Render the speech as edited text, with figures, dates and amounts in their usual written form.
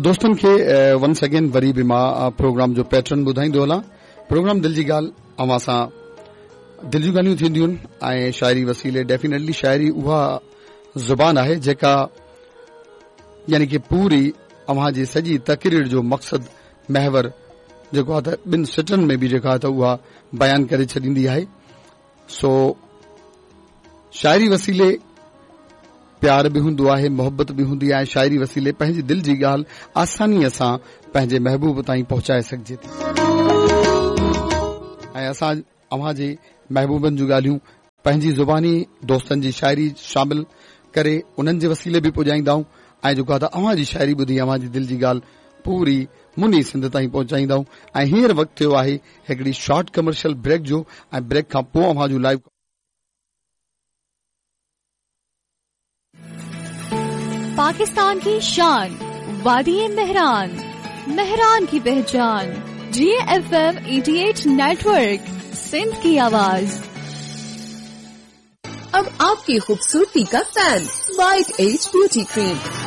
دوستن کي once again وري به مان پروگرام جو پيٽرن ٻڌائيندو هلان. پروگرام دل جي ڳالهه اوهان سان دل جون ڳالهيون ٿينديون آهن ۽ شاعري وسيلي ڊيفينيٽلي شاعري اها زبان آهي جيڪا يعني ڪي پوري اوهان جي سڄي تقرير جو مقصد محور جيڪو آهي ته ٻن سٽن ۾ به جيڪا آهي ته اها بيان ڪري ڇڏيندي آهي. سو شاعري وسيلي پيار به هوندو آهي، محبت به هوندي آهي، شاعري وسيلي پنهنجي دل جي ڳالهه آسانيء سان پنهنجي محبوب تائين پهچائي سگهجي ٿي ۽ اسان اوهان جي محبوبن جون ڳالهيون پنهنجي زباني دوستن جي شاعري شامل ڪري انهن جي وسيلي به پڄائيندا آهيون ۽ جيڪو آهي ته اوهان جي شاعري ٻڌي اوهان جي دل جي ڳالهه پوري مني سنڌ تائين پهچائيندا آهيون ۽ هينئر وقت ٿيو آهي هڪڙي شارٽ ڪمرشل بريڪ جو ۽ بريڪ کان پوء اوهان جون لائيو پاڪستان ڪي شان وادي مهران مهران ڪي پهچان جي F M 88 network Sindh ڪي آواز اب آپ ڪي خوبصورتي ڪا fan white age beauty cream.